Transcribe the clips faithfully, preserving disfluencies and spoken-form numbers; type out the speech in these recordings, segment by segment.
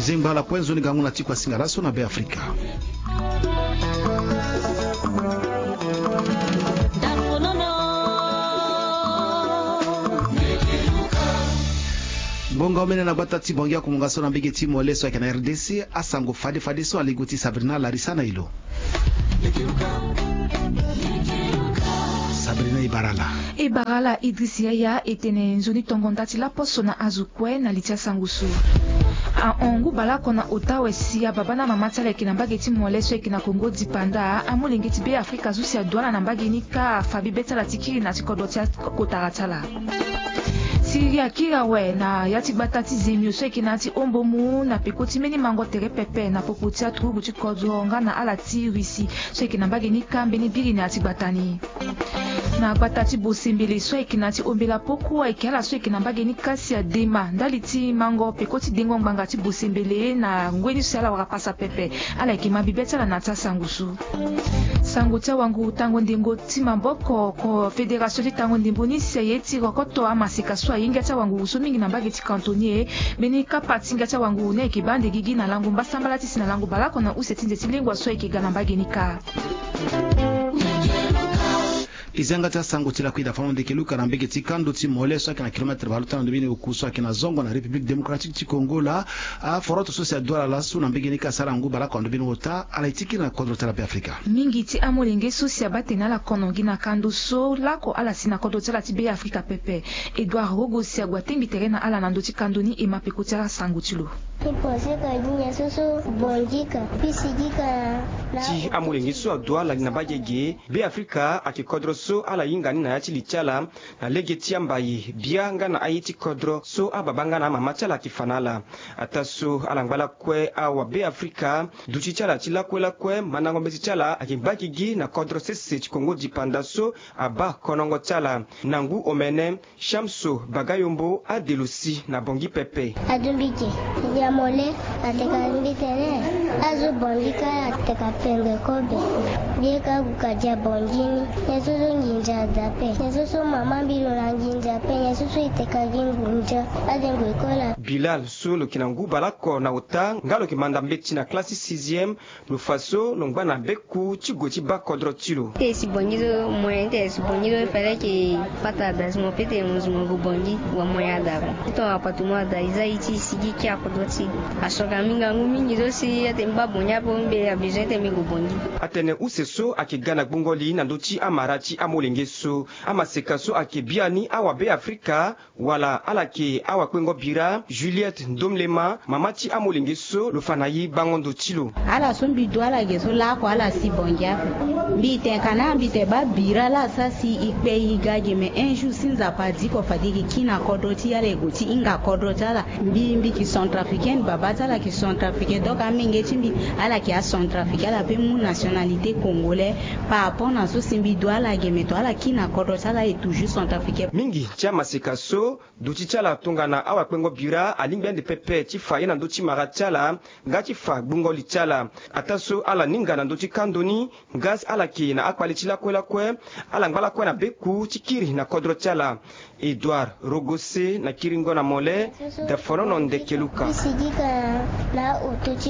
Zengba ala kue nzoni gango na ti kua singa laso na Be Afrika. Ngonga omene na gbata ti Bangui akumunga so na mbege ti mole so ayeke na R D C, asango fade fade so alego ti Sabrina Larissa na ilo. Sabrina, e bara ala. E bara ala Idriss Yaya. E tene nzoni tongo nda ti laposo na azo kue na li ti asango so. Ahon ngu baleoko na ota awe si ababa na amama ti ala ayeke na mbage ti mole so ayeke na Kongo dipanda, amolenge ti Be Afrika so si aduala na mbage ni kâ afa bibe ti ala ti kiri na ti kodro ti akotara ti ala. Siriri akiri awe na ya ti gbata ti Zemio so ayeke na ya ti Ombomu na peko ti mbeni mango tere pepe na popo ti aturugu ti kodro nga na ala ti Russie so ayeke na mbage ni kâ mbeni biri na ya ti gbata ni. Na gbata ti Bosembele so ayeke na ya ti Ombela Poko ayeke ala so ayeke na mbage ni kâ si adema ndali ti mango peko ti dengo ngbanga ti Bosembele na ngoi ni so si ala wara pasa pepe. Ala yeke ma bibe ti ala na ya ti asango so. Sango ti awangu tango ndembo ti maboko, ko fédération ti tango ndembo ni si aye ti rokoto amaseka so ahinga ti awanguru so mingi na mbage ti Cantonier. Mbeni kapa ti hinga ti awanguru ni ayeke baa nde gigi na lango mbasambala ti si na lango baleoko na use ti nze ti lengua so ayeke ga na mbage ni kâ. E zia nga ti asango ti lakui da fano ndeke luka na mbege ti kando ti mole so ayeke na kilomètre baleota na ndo mbeni oku so ayeke na zongo na République démocratique ti Congo laa. Aforoto so si aduala laso na mbege ni kâ asara ngu baleoko na ndo mbeni ota ala ye ti kiri na kodro ti ala Be Afrika. Mingi ti amolenge so si abaa tene ala kono gi na kando so laoko ala si na kodro ti ala ti Be Afrika pepe. Edouard Rogo si ague atengbi tere na ala na ndö ti kando ni e ma peko ti asango ti lo. Ti amolenge so aduala gi na mbage ge, Be Afrika ayeke kodro so ala hinga ni na ya ti li ti ala na lege ti ambaye bia nga na aye ti kodro so ababa nga na amama ti ala ayeke fa na ala. Ataa so ala ngba lakue awa Be Afrika, duti ti ala ti lakue lakue mandango mbeti ti ala ayeke ngba gigi na kodro sese ti Kongo dipanda so abaa konongo ti ala. Na ngu omene, Shamso Bagayombo ade lo si na Bangui pepe. Adumbi ge, ya mole, ateka mbi tene azo Bangui kâ ateka pendre kobe. Mbi ye ka gue ka dia Bangui ni. Nyen so so nginza ada ape? Nyen so so mama mbi lo na nginza ape? Nyen so so e teka gi nginza ade ngoi kola? Bilal so lo yeke na ngu baleoko na ota nga lo yeke manda mbeti na classe ti sixième. Lo fa so lo ngba na beku ti gue ti baa kodro ti lo. Te e si Bangui so moyen, te e si Bangui so fallait que pata ada si mo peut te mo si mo gue Bangui, wa moyen ada ko. Ti tongana appartement ada e za ye ti e si gi kia kodro ti e. Asoka mbi ngangu mingi so si ate mbi baa Bangui ape, mbi a besoin ete mbi gue Bangui. Atene use so ayeke ga na gbongo li na ndö ti amara ti amolenge so. Amaseka so ayeke biani awa Be Afrika, wala ala yeke awakpengo bira Juliette Ndomlema, mama ti amolenge so, lo fa na e bango ndo ti lo. Ala so mbi du ala ge so laoko ala si Bangui ape. Mbi tene ka na mbi tene baa bira laa asara si e kpe e ga ge, me un jour si Nzapa adi ko fade e ke kiri na kodro ti e, ala e gue ti hinga kodro ti ala. Mbi, mbi yeke centrafricaine, babâ ti ala yeke centrafricain, donc amenge ti mbi ala yeke acentrafricain, ala pe mu nationalité congolais. Par rapport na so si mbi du ala ge, me to ala kiri na kodro ti ala e toujours centrafricain. Mingi ti amaseka so duti ti ala tongana awakpengo bira alingbi ande pepe ti fa ye na ndö ti mara ti ala nga ti fa gbungo li ti ala. Ataa so ala ninga na ndö ti kando ni, nga ala yeke na akpale ti lakue lakue, ala ngba lakue na beku ti kiri na kodro ti ala. Edouard Rogose na kiringo na mole, Dafonono Ndekeluka.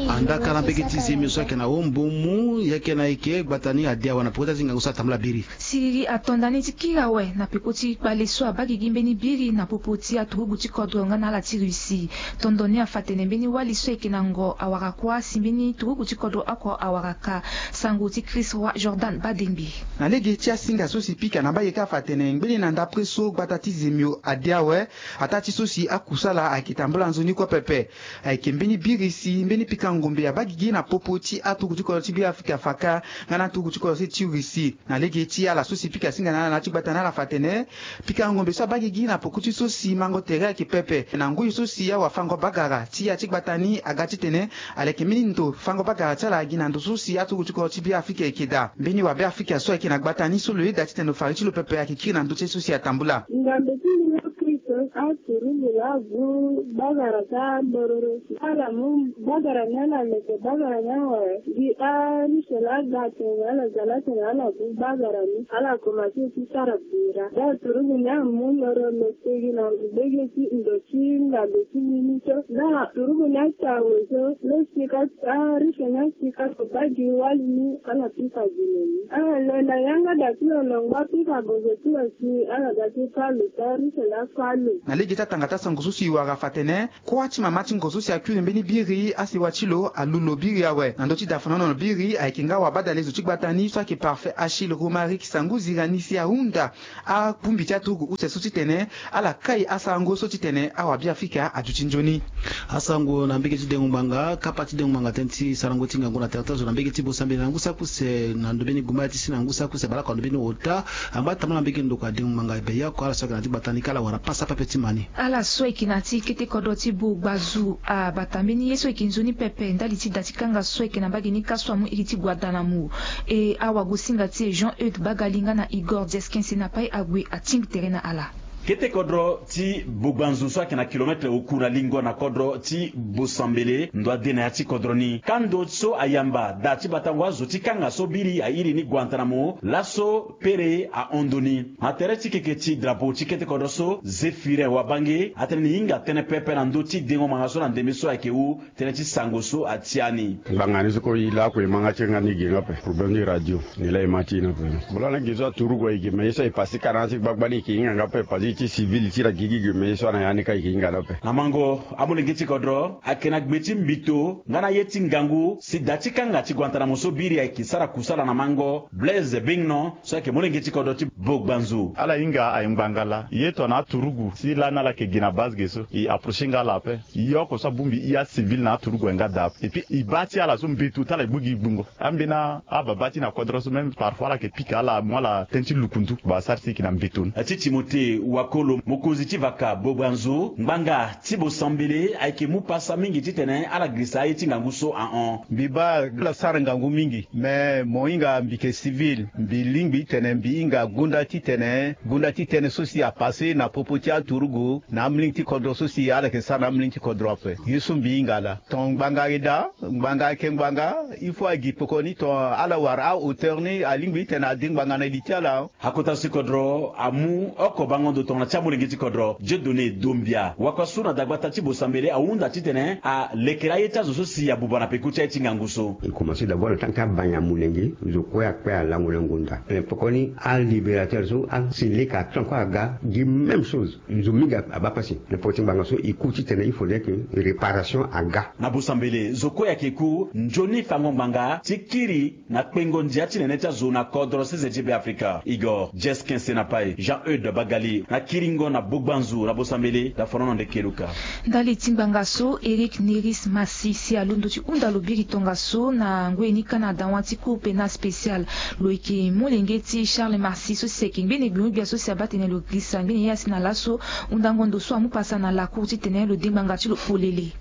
Andaka na mbege ti Zemio so ayeke na Ombomu, yeke na eke gbata ni ade awe na peko ti azingango so atambula biri. Siriri ato nda ni ti kiri awe na peko ti kpale so abaa gigi mbeni biri na popo ti aturugu ti kodro nga na ala ti Russie. Tondo ni afa tene mbeni wali so ayeke na ngo awara kuâ si mbeni turugu ti kodro oko awara kâ. Sango ti Chris Roy Jordan Badengbe. Na lege ti asinga so si pika na mbage kâ afa tene ngbeni na ndapre so gbata ti Zemio ade awe, ataa ti so si akusala ayeke tambula nzoni kue pepe. Ayeke mbeni biri si mbeni pika ngombe abaa gigi na popo ti aturugu ti kodro ti Be Afrika afa kâ nga na aturugu ti kodro ti Russie. Na lege ti ala so si pika singa na ala na ya ti gbata ni ala fa tene pika ngombe so abaa gigi na poko ti so si mango tere ayeke pepe. Na ngoi so si awafango-bagara ti ya ti gbata ni aga titene ala yeke mbeni ndo fango-bagara ti ala gi na ndo so si aturugu ti kodro ti Be Afrika ayeke daa. Mbeni wa Be Afrika so ayeke na gbata ni so lo yeda titene lo fari ti lo pepe ayeke kiri na ndö ti ye so si atambula. Ngambe ti Yezu Kristo Aturugu laa agu bagara ka bororo si ala mu bagara ni ala leke bagara ni awe. Gi ariche laa aga atene ala za laa atene ala gu bagara ni ala komanse ti sara bira. Daa aturugu ni amu loro lo tegi na ngbege ti ndo ti ngando ti mini so. Daa aturugu ni ati awe so lo sika. Ariche ni asika so baa gi wali ni ala pika gi lo ni. Ala lo na yanga da ti lo longba pika gozo ti lo si ala da ti fa lo si ariche laa fa lo. Na lege ti atanga ti asango so si e wara fa atene kuâ ti mama ti ngo so si akui na mbeni biri asewa ti lo alu lo biri awe. Na ndö ti da fanono biri ayeke nga wabadale zo ti gbata ni so ayeke Parfait Achille Romaric Sangu Zirani si ahunda abongbi ti aturugu use so titene ala kai asango so titene awabiafrika aduti nzoni. Asango na mbege ti dengo ngbanga kapa ti dengo ngbanga tënë ti sarango ti ngangu na tere ti azo na mbege ti Bosambele na ngu saki use na ndobeni gumba ti si na ngu saki use balako na ndobeni ota. Angba tambala mbege ndoko adengo ngbanga beya oko ala so ayeke na ti gbata ni ka ala wara pasa pepe ti ma ni. Ala so ayeke na ti kete kodro ti Bogbazu abata mbeni ye so ayeke nzoni pepe ndali ti da ti kanga so ayeke na mbage ni ka so amu iri ti Guantanamo. E awagosinga ti e Jean Eudes Bagali nga na Igor Dies Quince na pai ague atingbi tere na ala. Kete kodro ti Bogbanzu so ayeke na kilometre oku na lingo na kodro ti Bosambele ndo ade na ya ti kodro ni. Kando so ayamba da ti batango azo ti kanga so biri airi ni Guantanamo laso pere ahon ndo ni. Na tere ti keke ti drapeau ti kete kodro so Zéphirin Wabange atene ni hinga tënë pepe na ndö ti dengo ngbanga so na ndembe so ayeke wu tënë ti sango so atia ni. Ngbanga ni so kue e lakue e ma nga ti nga ni ge nga ape problème ti radio. Ni laa e ma ti e ni ape. Mo laa na ge so aturugu aye ge me ye so aye pasi ka na ya ti gbagba ni e ke hinga nga ape pasi ti civil ti la gigi ge me ye so ana ya ni ka e ke hinga ni ape. Na mango amolenge ti kodro ayeke na gbe ti mbito nga na ye ti ngangu si da ti kanga ti Guantanamo so biri ayeke sara kusala na mango Blaise Bingnon so ayeke molenge ti kodro ti Bogbanzu. Ala hinga aye ngbanga laa ye tongana aturugu si lani ala yeke gi na base ge so e approcher nga ala ape. Ye oko so abongbi e acivil na aturugu aye nga daa ape et puis e baa ti ala so mbeto ti ala e gbu gi gbungo. Ambeni ababa ti na kodro so même parfois ala yeke pika ala amu ala tënë ti lukundu ba asara si e yeke na mbeto ni. Ti Timothée Wakolo mokonzi ti vaka Bogbanzu ngbanga ti Bosambele ayeke mu pasa mingi titene ala girisa aye ti ngangu so ahon. Mbi baa ala sara ngangu mingi. Me mo hinga mbi yeke civil mbi lingbi titene mbi hinga gonda titene gonda ti tënë so si apase na popo ti aturugu na amolenge ti kodro so si ala yeke sara na amolenge ti kodro ape. Ye so mbi hinga laa ton ngbanga ayeke daa ngbanga ayeke ngbanga. Il faut agi pekoni ton ala wara ahauteur ni alingbi titene ade ngbanga na li ti ala. Akota so ti kodro amu oko bango ndo tongana ti amolenge ti kodro Dieudonné Dombia wakua so na dagbata ti Bosambele ahunda titene alekere aye ti azo so si abuba na peko ti aye ti ngangu so. E komanse d'abord na tant que abanya molenge zo kue akpe alango na ngonda. Pekoni alibérateur so asi leka aton kue aga gi même chose. Zo mingi abaa pasi na peko ti ngbanga so e ku titene il faudrait que réparation aga. Na Bosambele zo kue ayeke ku nzoni fango ngbanga ti kiri na kpengo ndia ti nene ti azo na kodro C Z G B Afrika. Igor Dies Quince na pai Jean Eudes Bagali na kiringo na Bogbanzu na Bosambele da fanono nde keluka. Ndali ti ngbanga so Eric Neris Massi si alondo ti hunda lo biri tongaso na ngoi ni ka na dawa ti Cour pénale spéciale. Lo yeke molenge ti Charles Massi so si ayeke ngbene gbion-gbia so si abaa tene lo girisa ngbene ye asi na laso. Hundango ndo so amu pasa na lakour titene lo de ngbanga ti lo polele.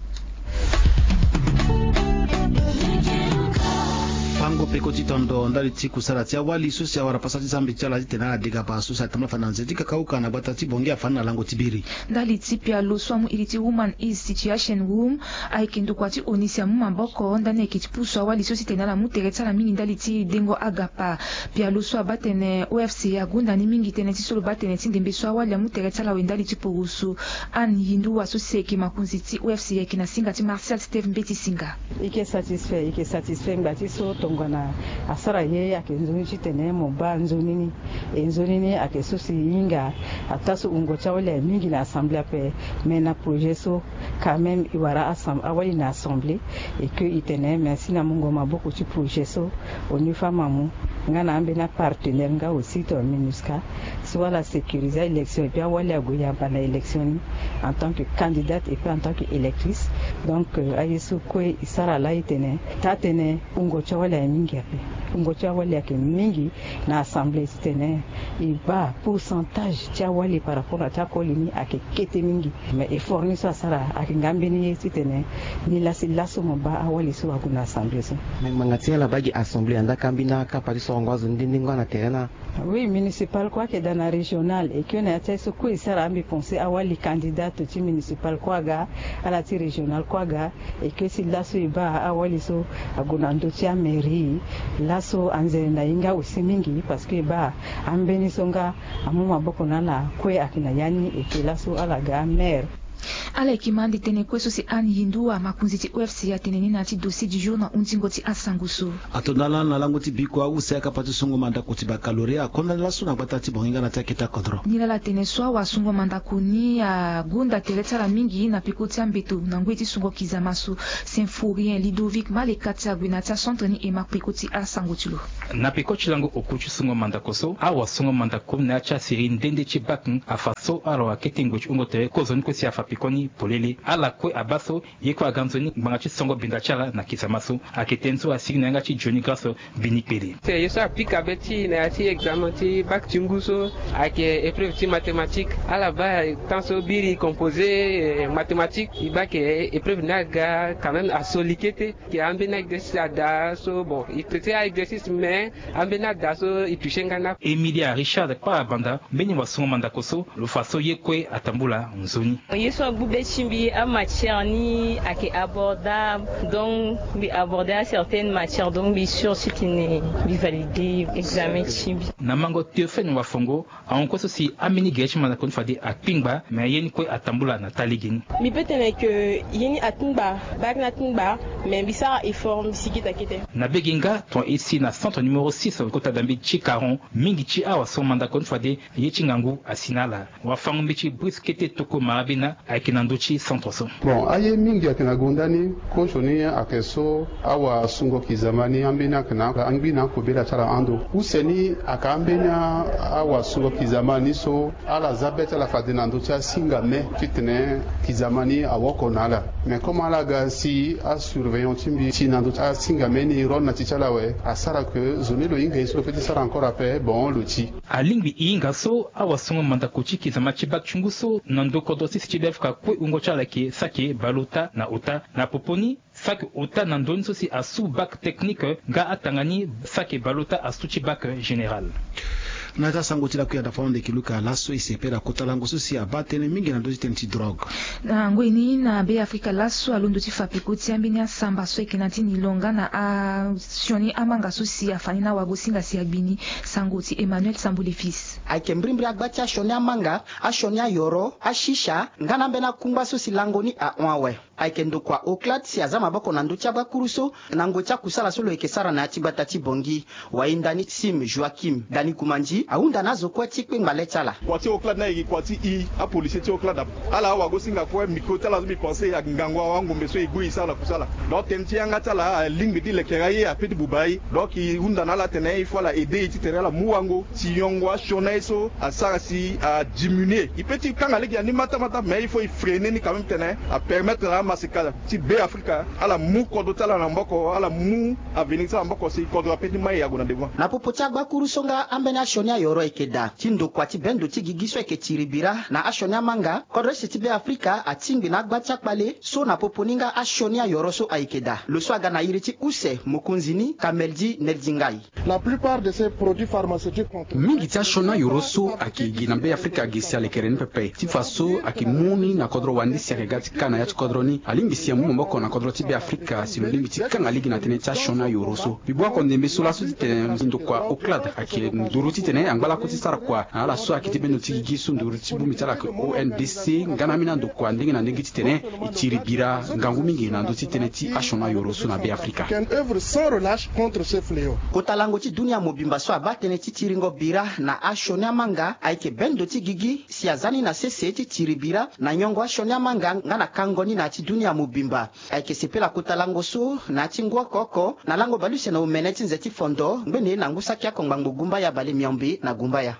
Fango peko ti tondo ndali ti kusala ti awali so si awara pasa ti zambi ti ala titene ala dega baa so si atambula fade na nze ti kakauka na gbata ti Bongi afani na lango ti biri. Ndali ti pialo so amu iri ti Woman is Situation Room ayeke ndokua ti ONU si amu maboko ndani ayeke ti pusu awali so si tene ala mu tere ti ala mingi ndali ti dengo agapa. Pialo so abaa tene OFCE agonda ni mingi tënë ti so lo baa tene ti ndembe so awali amu tere ti ala awe ndali ti poroso. Anne Yinduwa so si ayeke makonzi ti OFCE ayeke na singa ti Martial Steve Mbeti Singa. E ke satisfait e ke satisfait ngba ti so tongana asara ye ayeke nzoni titene mo baa nzoni ni. E nzoni ni ayeke so si e hinga ataa so wungo ti awali aye mingi na assemblée ape. Mais na projet so quand même e wara awali na assemblée et que e tene merci na mungo maboko ti projet so. Au niveau amamu nga na ambeni apartenaire nga aussi ton MINUSCA so ala sécuriser aélection et puis awali ague yamba na élection ni en tant que candidate et puis en tant que électrice. Donc aye so kue e sara laa e tene taa tënë wungo ti awali aye mingi ape. Fungo ti awali ayeke mingi na assemblée titene e baa pourcentage ti awali par rapport na ti akoli ni ayeke kete mingi. Mais effort ni so asara ayeke nga mbeni ye titene ni lasi laso mo baa awali so ague na assemblée so. Mais ngbanga ti ala baa gi assemblée andaa ka mbeni akapa ti sorongo azo ni nde nde nga na tere na. Oui, municipal kue ayeke daa na régional, e kue na ya ti aye so kue e sara ambi pensé awali candidate ti municipal kue aga, ala ti régional kue aga. E kue si laso e baa awali so ague na ndö ti amairie. Laso anzere na e nga aussi mingi parce que e baa ambeni so nga amu maboko na ala kue ayeke na ya ni. E ke laso ala ga maire. Ala yeke ma ande tënë kue so si Anne Yindou, amakonzi ti O F C, atene ni na ya ti dossier du jour na hunzingo ti asango so. Ato na ala na lango ti biko ause akapa ti songo mandako ti baccalauréat akonda laso na gbata ti Bangui nga na ti akete akodro. Nilala tene so awasungo mandako ni agonda tere ti ala mingi na peko ti ambeto na ngoi ti songo kizama so. Symphorien Ludovic Maleka ti ague na ya ti acentre ni e ma peko ti asango ti lo. Na peko ti lango oku ti songo mandako so, awasungo mandako na ya ti asérie nde nde ti bac afa so ala wa kete ngoi ti hungo tere kozoni kue si afa peko ni polele. Ala kue abaa so ye kue aga nzoni ngbanga ti songo binda ti ala na kizama so. Ayeke tënë so asigi na yanga ti Johnny Grasso Bini Kpele. Ye so apika be ti e na ya ti examen ti bac ti ngu so ayeke épreuve ti mathématique. Ala baa temps so biri composé, eh, mathématique, e baa ke épreuve ni aga quand même aso li kete. Ke ambeni exercice adaa so, bon, e traité a-exercice mais ambeni adaa so e touché nga na. Emilia Richard Kpara Banda, mbeni wasungo mandako so, lo fa so ye kue atambula nzoni. Ye so agbu be ti mbi, amatière ni ayeke abordable, donc mbi abordé acertaine matière, donc mbi sûr titene mbi validé examen ti mbi. Na mango Théophène Wafongo, ahon kue so si ambeni gere ti mandako ni fade akpingba, me ye ni kue atambula na taa lege ni. Mbi peut tene ke ye ni akpingba, bac ni akpingba, me mbi sara effort, mbi sigi daa kete. Na be ge nga, tongana e si na centre numéro six kota dambe ti Caron, mingi ti awasungo mandako ni fade ye ti ngangu asi na ala. Wafango-mbeti Brice Kete Toko Marabena ayeke na ndö ti centre so. Bon, aye mingi ayeke na gonda ni. Kozo ni ayeke so awasungo kizama ni ambeni ayeke na angbi na akobela ti ala ando. Use ni ayeke ambeni a- awasungo kizama ni so ala za be ti ala fade na ndö ti asinga me titene kizama ni awoko na ala. Mais comme ala ga si asurveillant ti mbi si na ndö ti asinga me ni rôle na ti ti ala awe, asara ke zo ni lo hinga ye so lo peut ti sara encore ape, bon, lo ti. Alingbi e hinga so awasungo mandako ti kizama ti bac ti ngu so na ndo kodro sese ti Beafrika kue wungo ti ala yeke saki bale ota na ota. Na popo ni, saki ota na ndoni so si asu bac technique nga atanga ni saki bale ota asu ti bac général. Na ya ti asango ti lakui anda fana ndeke luka laso e sepela kota lango so si abaa tënë mingi na ndö ti tënë ti drogue. Na ngoi ni na Beafrika laso alondo ti fa peko ti ambeni asamba so ayeke na ya ti nilonga na asioni amanga so si afa ni na wagosinga si agbi ni. Sango ti Emmanuel Sambule Fils. Ayeke mbirimbiri agba ti asioni amanga, asioni ayoro, asisa nga na ambeni akungba so si lango ni ahon awe. Ayeke ndokua Oclade si aza maboko na ndö ti agbakuru so na ngoi ti akusala so lo yeke sara na ya ti gbata ti Bangui. Wayenda ni Sim Joachim Dani Kumandi ahunda na azo kue ti kpengba le ti ala. Kua ti Oclade ni ayeke kua ti i apolisier ti Oclade. Ala awagosinga kue micro ti ala so mbi pense ayeke ngangu awa angombe so e gbu e sara na kusala. Donc tënë ti yanga ti ala alingbi ti lekere aye ape ti buba aye. Donc e hunda na ala atene il faut ala aider e titene ala mu wango si yongo asioni aye so asara si adiminuer. E peut ti kanga lege na ni matamata mais il faut e freiner ni quand même titene apermettre na amaseka ti Beafrika ala mu kodro ti ala na maboko, ala mu avenir ti ala na maboko si kodro ape ti mai ague na devant. Na popo ti agbakuru so nga ambeni asioni ayoro ayeke daa ti ndokua ti bendo ti gigi so ayeke tiri bira na asioni amanga, kodro use ti Beafrika atingbi na agba ti akpale so na popo ni nga asioni ayoro so ayeke daa. Lo so aga na iri ti use mokonzi ni Kameldi Neldi Ngai. La plupart de ces produits pharmaceutiques contre. Mingi ti asioni ayoro so ayeke gi na Beafrika gi si alekere ni pepe ti fa so ayeke mu ni na kodro wande si ayeke ga ti ka na ya ti kodro ni. Alingbi si amu maboko na kodro ti Beafrika si lo lingbi ti kanga lege na tënë ti asioni ayoro so. Mbi bua oko ndembe so laso titene ndokua Oclade ayeke nduru titene angba lakue ti sara kua na ala so ayeke ti bendo ti gigi so nduru ti bongbi ti ala ayeke O N D C nga na ambeni andokua ndenge na ndenge titene e tiri bira ngangu mingi na ndö ti tënë ti asioni ayoro so na Beafrika. Qu'elle œuvre sans relâche contre ce fléau. Kota lango ti dunia mobimba so abaa tënë ti tiringo bira na asioni amanga ayeke bendo ti gigi si aza ni na sese ti tiri bira na nyongo asioni amanga nga na kango ni na ya ti dunia mobimba. Ayeke sepela kota lango so na ya ti ngu oko oko na lango baleuse na omene ti nze ti fondo ngbene na ngu saki akongba ngbo gumbaya bale miombe na gumbaya.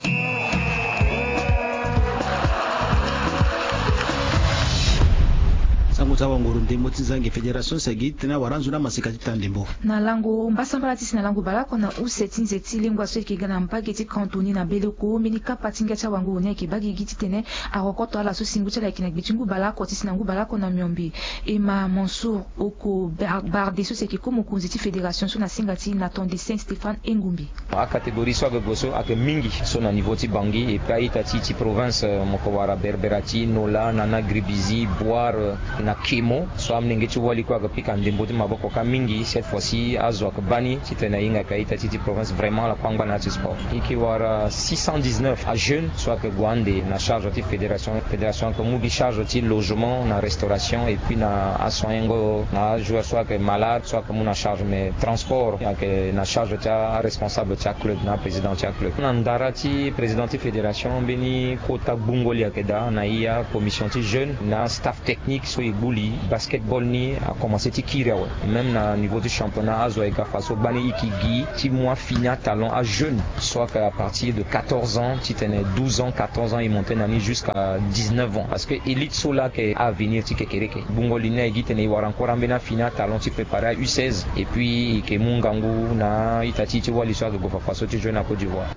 Ti awanguru ndembo ti zangi fédération si agi titene awara nzoni amaseka ti taa ndembo. Na lango mbasambala ti si na lango baleoko na use ti nze ti lengua so eke ga na mbage ti Cantoni na Beleko, mbeni kapa ti ngia ti awanguru ni ayeke baa gigi titene arokoto ala so si ngu ti ala ayeke na gbe ti ngu baleoko ti si na ngu baleoko na miombe. Emma Mansour Oko Bar- Barde so si ayeke ko mokonzi ti fédération so na singa ti Nathan de Saint Stéphane Engumbi. Acatégorie so ayeke gue so ayeke mingi so na niveau ti Bangui et puis a-ita ti e ti province, mo yeke wara Berbera ti Nola, Nana, Gribizi, Bouar, na Kemo. So amolenge ti wali kue ayeke pika ndembo ti maboko kâ mingi. Cette fois-ci azo ayeke baa ni titene ahinga yeke a-ita ti e ti province vraiment ala kue angba na ya ti sport. E yeke wara six cent dix-neuf ajeunes so ayeke gue ande na charge ti fédération. Fédération ayeke mu gi charge ti logement na restauration et puis na asoignango na ajoueur so ayeke malade so ayeke mu na charge, mais transport ayeke na charge ti aresponsable ti aclub na aprésident ti aclub. Na ndara ti président ti fédération, mbeni kota gbungo li ayeke daa na e, acommission ti jeune na astaff technique so e gbu li. Basketball ni akomanse ti kiri awe. Même na niveau ti championnat azo ayeke ga fa so gbani e yeke gi ti mu afini atalon ajeunes so ayeke à partir de quatorze ans titene douze ans, quatorze ans e monte na ni jusqu'à dix-neuf ans, parce que élite so laa ayeke avenir ti kekereke. Gbungo li ni aye gi titene e wara encore ambeni afini atalon ti préparer a-U seize et puis e yeke mu ngangu na a-ita ti e ti wali so ayeke gue fafa so ti jeune na Côte d'Ivoire.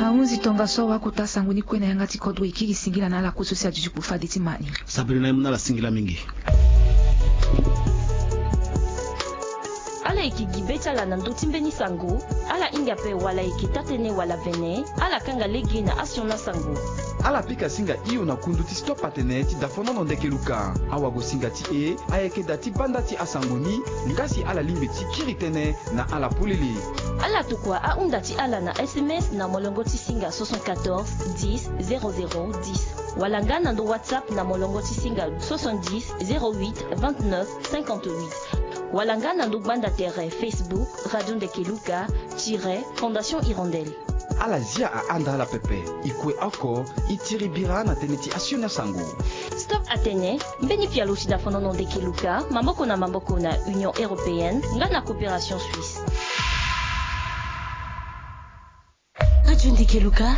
Ahunzi tongaso awa kota sango ni kue na yanga ti kodro e kiri singila na ala kue so si aduti kpo fade ti ma ni. Sabiri na e mu na ala singila mingi. Ala yeke gi be ti ala na ndö ti mbeni sango. Ala hinga ape wala e yeke taa-tënë wala vene, ala kanga lege na asioni asango. Ala pika singa hio na kundu ti Stop Atene ti dafonono Ndeke Luka. Awagosinga ti e ayeke da ti banda ti asango ni, nga si ala lingbi ti kiri tënë na ala polele. Ala tokua ahunda ti ala na S M S na molongo ti singa soixante-quatorze dix zéro zéro dix, wala nga na ndo WhatsApp na molongo ti singa soixante-dix zéro huit vingt-neuf cinquante-huit, wala nga na ndo gbanda tere Facebook Radio Ndeke Luka tiret Fondation Hirondelle. Ala zia ahanda ala pepe. E kue oko, e tiri bira na tënë ti asioni asango. Stop Atene, mbeni pialo ti dafonono Ndeke Luka, maboko na maboko na Union Européenne nga na Coopération Suisse. Radio Ndeke Luka.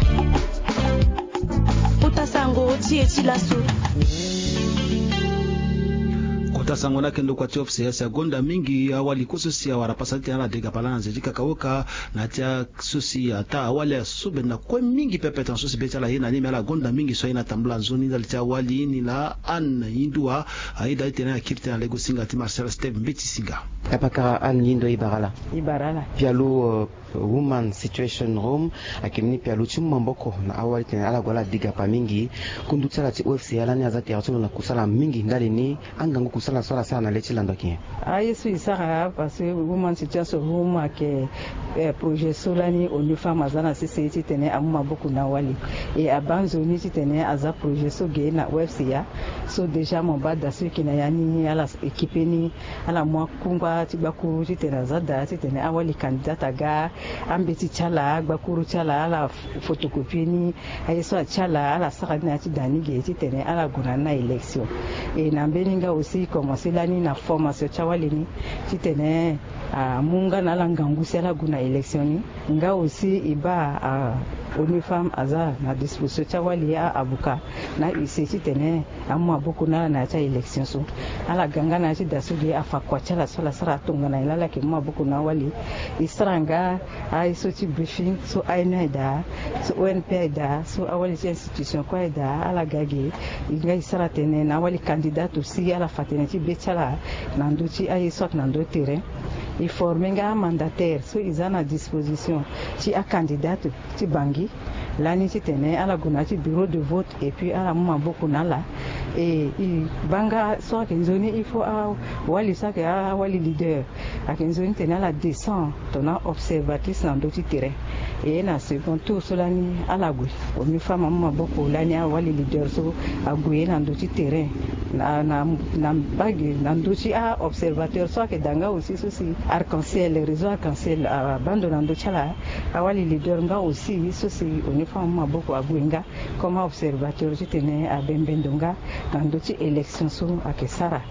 Kota sango ti e ti laso. Kota sango ni ayeke ndokua ti O F C A si agonda mingi awali kue so si awara pasa ti tene ala dega pala na nze ti kakaoka na ya ti a so si ataa awali asu benda kue mingi pepe tongana so si be ti ala aye na ni me ala gonda mingi so aye na tambula nzoni ndali ti awali ni laa Anne Yindua. Ayeda ti tene akiri tënë na lego singa ti Marcel Steve Mbeti Singa. Kapakara Anne Yindua, e bara ala. E bara ala. Pialo Woman Situation Room ayeke mbeni pialo ti mu maboko na awali titene ala gue ala degapa mingi. Kundu ti ala ti O F C A lani aza tere ti lo na kusala mingi ndali ni. Angangu kusala so ala sara na le ti lando ayeke nyen? Aye so e sara parce que Woman Situation Room ayeke projet so lani ONU Femmes aza na sese titene amu maboko na awali. E abaa nzoni titene aza projet so ge na O F C A. So déjà mo baa da so e yeke na ya ni ala équipe ni. Ala mu akungba ti gbakuru titene aza daa titene awali candidate aga. Ambeti ti ala, gbakuru ti ala, ala photocopie ni. Aye so atie ala, ala sara ni na ya ti da ni ge titene ala gue na ni na élection. E na mbeni nga aussi e commencer lani na formation ti awali ni titene amu nga na ala ngangu si ala gue na élection ni. Nga aussi e baa ONU Femmes aza na disposition ti awali, a-avocat na huissier titene amu maboko na ala na ya ti a-élection so. Ala ga nga na ya ti da so ge afa kua ti ala so ala sara tongana nyen laa ala yeke mu maboko na awali. E sara nga aye so ti briefing so A N U aye daa, so O N P aye daa, so awali ti institution kue aye daa, ala ga ge. E nga e sara tënë na awali candidate aussi ala fa tënë ti be ti ala na ndö ti aye so ayeke na ndö terrain. E former nga amandataire so e za na disposition ti acandidate ti Bangui lani titene ala gue na ya ti bureau de vote et puis ala mu maboko na ala. E e baa nga so ayeke nzoni il faut awali so ayeke awali leader ayeke nzoni titene ala descend tongana observatrice na ndö ti terrain. E na second tour so lani ala gue. ONU Femmes amu maboko lani awali leader so ague na ndö ti terrain. na na na mbage na ndö ti a-observateur so ayeke daa nga aussi so si Arc-en-Ciel, réseau Arc-en-Ciel abaa ndo na ndö ti ala. Awali leader nga aussi so si au niveau amu maboko ague nga comme a-observateur titene abembe ndo nga na ndö ti élection so ayeke sara.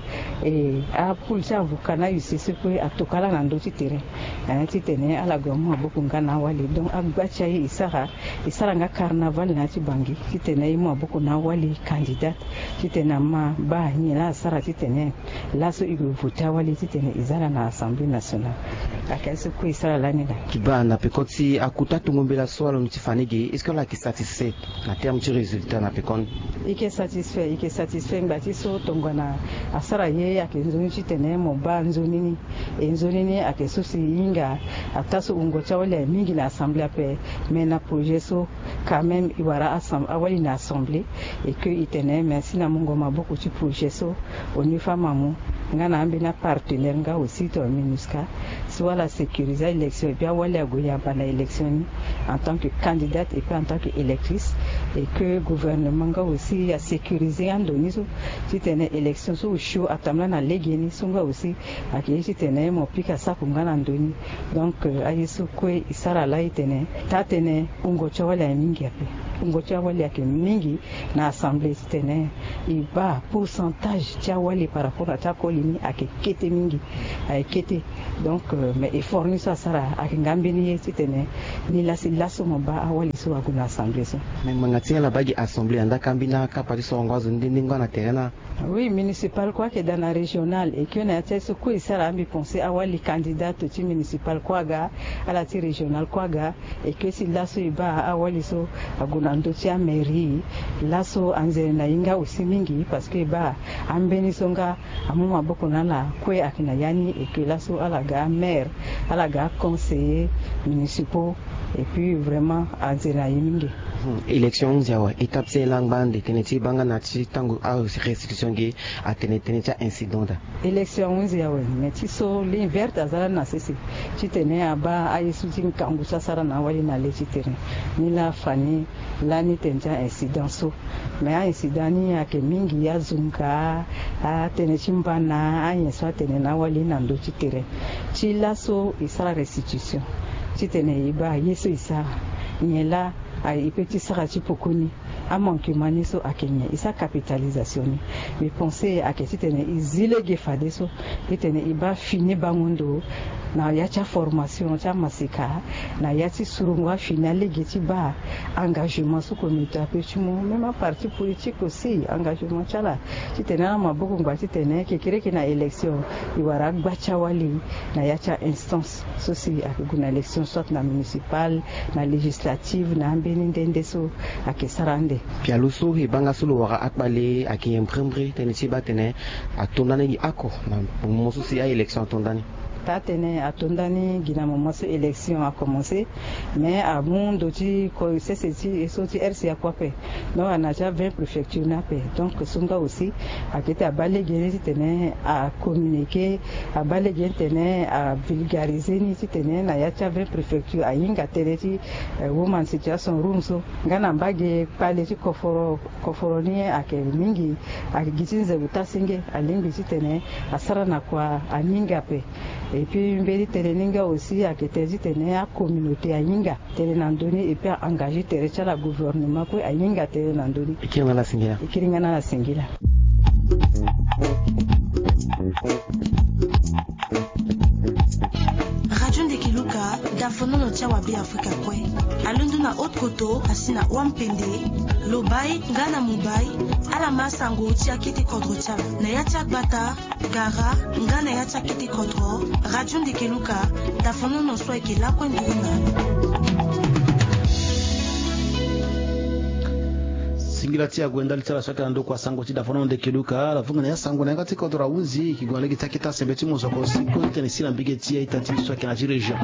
E apoule ti avocat na huissier so kue atokua ala na ndö ti terrain, eh, titene ala gue amu maboko nga na awali. Donc agba ti aye e sara, e sara nga carnaval na ya ti Bangui titene e mu maboko na awali candidat titene ama baa nyen laa asara titene laso e gue vote awali titene e za ala na Assemblée nationale. Ayeke aye so kue e sara lani laa. Ti baa na peko ti akuta tongo mbela so alondo ti fa ni ge, est-ce que ala yeke satisfait na terme ti résultat na pekoni? E yeke satisfait, e yeke satisfait ngba ti so tongana asara ye ayeke nzoni titene mo baa nzoni ni. E nzoni ni ayeke so si e hinga ataa so wungo ti awali aye mingi na Assemblée ape. Mais na projet so quand même e wara asem- awali na Assemblée. Et que e tene merci na mungo maboko ti projet so au niveau amu nga na ambeni apartenaire nga aussi tongana MINUSCA so ala sécuriser a-élection et puis awali ague yamba na élection ni en tant que candidate et puis en tant que électrice. Et que gouvernement nga aussi asécuriser ando ni so titene élection so osio atambula na legeni so nga aussi ayeke ye titene mo pika sako nga na ndo ni. Donc, euh, aye so kue e sara laa e tene taa-tënë wungo ti awali aye mingi ape. Wungo ti awali ayeke mingi na Assemblée titene e baa pourcentage ti awali par rapport na ti akoli ni ayeke kete mingi. Ayeke kete. Donc, euh, mais effort ni so asara ayeke nga mbeni ye titene ni laa si laso mo baa awali so ague na Assemblée so. Mais ngbanga ti ala baa gi Assemblée andaa ka mbeni akapa ti sorongo azo ni nde nde nga na terrain na Oui, municipal kue ayeke daa na régional. Et que na ya ti aye so kue e sara, mbi pense awali candidat ti municipal kue aga, ala ti régional kue aga. Et que si laso e baa awali so ague na ndö ti amairie, laso anzere na e nga aussi mingi parce que e baa ambeni so nga amu maboko na ala kue ayeke na ya ni. Et que laso ala ga amaire, ala ga aconseiller municipaux. Et puis vraiment anzere na e mingi. Hmm, élection ahunzi awe, étape ti e laa angba ande tënë ti e baa nga na ti tango arestitution ge atene tënë ti a-incident daa. Élection ahunzi awe, mais ti so ligne verte aza lani na sese titene abaa aye so ti ngangu so asara na awali na le ti terrain. Ni laa afa ni lani tënë ti a-incident so. Mais a-incident ni ayeke mingi, azunga, atënë ti mbana, anyen so atene na awali na ndö ti terrain. Ti laso e sara restitution titene e baa ye so e sara, nyen laa e peut ti sara ti poko ni. Amanquement ni so ayeke nyen? E sara capitalisation ni. Mbi pense ayeke titene e zi lege fadeso titene e baa fini bango ndo na ya ti aformation ti amaseka, na ya ti surongo afini alege ti baa engagement so communauté ape ti mu, même aparti politique aussi engagement ti ala titene ala maboko ngba titene kekereke na élection e wara agba ti awali na ya ti a-instance so si ayeke gue na élection soit na municipal, na législative, na ambeni nde nde so ayeke sara ande. Pialo so e baa nga so lo wara akpale ayeke nyen mbrembre tënë ti e baa tene ato ndani gi oko na moment so si a-élection ato ndani? Taa tënë ato ndani gi na moment so élection akomanse. Mais amu ndo ti ko sese ti e so ti R C A kue ape. Donc ana ti a vingt préfecture ni ape. Donc so nga aussi ayeke ti abaa lege ni titene acommuniquer, abaa lege ni titene avulgariser ni titene na ya ti a vingt préfecture ahinga tënë ti, eh, woman situation room so. Nga na mbage kpale ti koforo, koforo ni ayeke mingi, ayeke gi ti nze ota senge, alingbi titene asara na kua aninga ape. Et puis mbeni tënë ni nga aussi ayeke tënë titene acommunauté ahinga tënë na ndö ni et puis a-engager tere ti ala, gouvernement kue ahinga tënë na ndö ni. E kiri nga na ala singila. E kiri nga na ala singila. Radio Ndeke Luka, dafonono ti awa Beafrika kue. Alondo na Haute-Kotto asi na Wampende, Lobaye nga na Mumbai, ala ma sango ti akete kodro ti ala na ya ti agbata, gara nga na ya ti akete kodro. Radio Ndeke Luka, dafonono so ayeke lakue nduru na. Singila ti ague ndali ti ala so ayeke na ndokua sango ti dafonono Ndeke Luka. Ala vunga na ya sango na yanga ti kodro ahunzi, e ke gue na lege ti akete asembe ti mosoko si kue ti tene si na mbage ti a-ita ti e so ayeke na ya ti région.